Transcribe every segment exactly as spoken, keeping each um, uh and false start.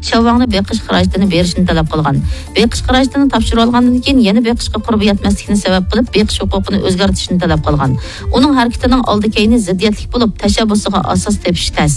شياۋ ۋاڭنى بېقىش خىراجىتىنى بېرىشنى تەلەپ قىلغان. بېقىش خىراجىتىنى تاپشۇرۇۋالغاندىن كېيىن يەنە بېقىشقا قۇربى يەتمەسلىكنى سەۋەب قىلىپ، بېقىش ھوقۇقىنى ئۆزگەرتىشنى تەلەپ قىلغان. ئۇنىڭ ھەرىكىتىنىڭ ئالدى-كەينى زىددىيەتلىك بولۇپ، تەشەببۇسىغا ئاساس تېپىش تەس.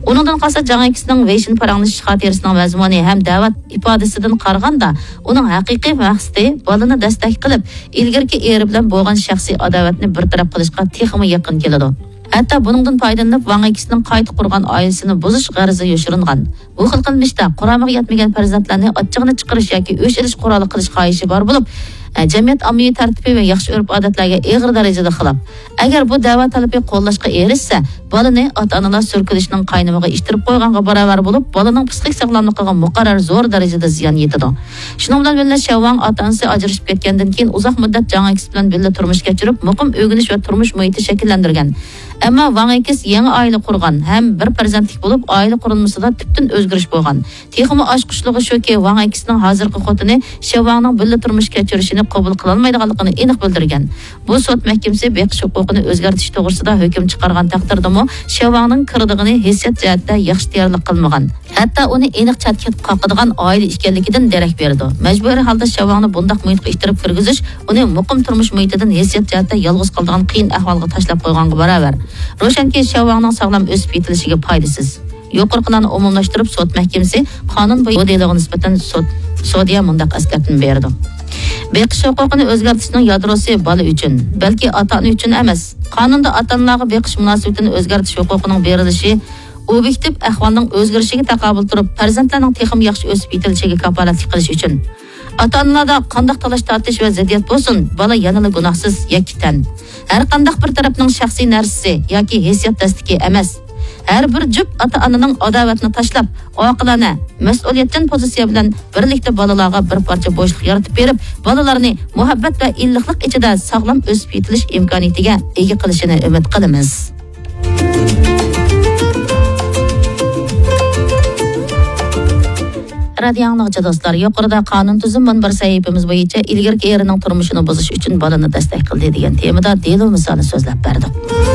ئۇنىڭدىن قالسا، جاڭ ئېكسنىڭ ۋېيشىن پاراڭلىشىش خاتىرىسىنىڭ مەزمۇنى ھەم دەۋەت ئىپادىسىدىن قارىغاندا، ئۇنىڭ ھەقىقىي مەقسىتى بالىنى دەستەك قىلىپ، ئىلگىرىكى ئېرى بىلەن بولغان شەخسىي ئاداۋەتنى بىر تەرەپ قىلىشقا تېخىمۇ يېقىن كېلىدۇ. ھەتتا بۇنىڭدىن پايدىلىنىپ، ۋاڭ ئېكسنىڭ قايتا قۇرغان ئائىلىسىنى بۇزۇش غەرىزى يوشۇرۇنغان. بۇ خىل قىلمىشتا قۇرامىغا يەتمىگەن پەرزەنتلەرنى ئاچچىقىنى چىقىرىش ياكى ئۆچ ئېلىش قورالى قىلىش خاھىشى بار بولۇپ، ئە، جەمئىيەت ئاممىۋى تەرتىپى ۋە ياخشى ئۆرپ-ئادەتلەرگە ئېغىر دەرىجىدە خىلاپ. ئەگەر بۇ دەۋا تەلىپى قوللاشقا ئېرىشسە، بالىنى ئاتا-ئانىلار سۈركىلىشنىڭ قاينىمىغا ئىتتىرىپ قويغانغا باراۋەر بولۇپ، بالىنىڭ پىسخىك ساغلاملىقىغا مۇقەررەر زور دەرىجىدە زىيان يېتىدۇ. شۇنىڭ بىلەن بىللە، شياۋ ۋاڭ ئاتا-ئانىسى ئاجرىشىپ كەتكەندىن كېيىن ئۇزاق مۇددەت جاڭ ئېكس بىلەن بىللە تۇرمۇش كەچۈرۈپ، مۇقىم ئۆگىنىش ۋە تۇرمۇش مۇھىتى شەكىللەندۈرگەن. ئەمما ۋاڭ ئېكس يېڭى ئائىلە قۇرغان ھەم بىر پەرزەنتلىك بولۇپ، ئائىلە قۇرۇلمىسىدا تۈپتىن ئۆزگىرىش بولغان. تېخىمۇ ئاچقۇچلۇقى شۇكى، ۋاڭ ئېكسنىڭ ھازىرقى خوتۇنى شياۋ ۋاڭنىڭ بىللە تۇرمۇش كەچۈرۈشىنى قوبۇل قىلالمايدىغانلىقىنى ئېنىق بىلدۈرگەن. بۇ سوت مەھكىمىسى بېقىش ھوقۇقىنى ئۆزگەرتىش توغرىسىدا ھۆكۈم چىقارغان تەقدىردىمۇ، شياۋ ۋاڭنىڭ كىرىدىغىنى ھېسسىيات جەھەتتە ياخشى تەييارلىق قىلمىغان، ھەتتا ئۇنى ئېنىق چەتكە قاقىدىغان ئائىلە ئىكەنلىكىدىن دېرەك بېرىدۇ. مەجبۇرىي ھالدا شياۋ ۋاڭنى بۇنداق مۇھىتقا ئىتتىرىپ كىرگۈزۈش ئۇنى مۇقىم تۇرمۇش مۇھىتىدىن ھېسسىيات جەھەتتە يالغۇز قالىدىغان قىيىن ئەھۋالغا تاشلاپ قويغانغا باراۋەر. روشەنكى، شياۋ ۋاڭنىڭ ساغلام ئۆسۈپ يېتىلىشىگە پايدىسىز. يۇقىرىقىلارنى ئومۇملاشتۇرۇپ، سوت مەھكىمىسى قانۇن بويىچە بۇ دېلوغا نىسبەتەن سوت، سودىيە مۇنداق ئەسكەرتمە بېرىدۇ. بېقىش ھوقۇقىنى ئۆزگەرتىشنىڭ يادروسى بالا ئۈچۈن، بەلكى ئاتا-ئانا ئۈچۈن ئەمەس. قانۇندا ئاتا-ئانىلارغا بېقىش مۇناسىۋىتىنى ئۆزگەرتىش ھوقۇقىنىڭ بېرىلىشى ئوبيېكتىپ ئەھۋالنىڭ ئۆزگىرىشىگە تاقابىل تۇرۇپ، پەرزەنتلەرنىڭ تېخىمۇ ياخشى ئۆسۈپ يېتىلىشىگە كاپالەتلىك قىلىش ئۈچۈن. ئاتا-ئانىلاردا قانداق تالاش-تارتىش ۋە زىددىيەت بولسۇن، بالا يەنىلا گۇناھسىز يەككە تەن. ھەر قانداق بىر تەرەپنىڭ شەخسىي نەرسىسى ياكى ھېسسىيات دەستىكى ئەمەس. ھەر بىر جۈپ ئاتا-ئانىنىڭ ئاداۋەتنى تاشلاپ، ئاقىلانە، مەسئۇلىيەتچان پوزىتسىيە بىلەن بىرلىكتە بالىلارغا بىر پارچە بوشلۇق يارىتىپ بېرىپ، بالىلارنى مۇھەببەت ۋە ئىللىقلىق ئىچىدە ساغلام ئۆسۈپ يېتىلىش ئىمكانىيىتىگە ئىگە قىلىشىنى ئۈمىد قىلىمىز. رادىيو ئاڭلىغۇچى دوستلار، يۇقىرىدا قانۇن تۈزۈم مۇنبىرى سەھىپىمىز بويىچە ئىلگىرىكى ئېرىنىڭ تۇرمۇشىنى بۇزۇش ئۈچۈن بالىنى دەستەك قىلدى دېگەن تېمىدا دېلو مىسالى سۆزلەپ بەردۇق.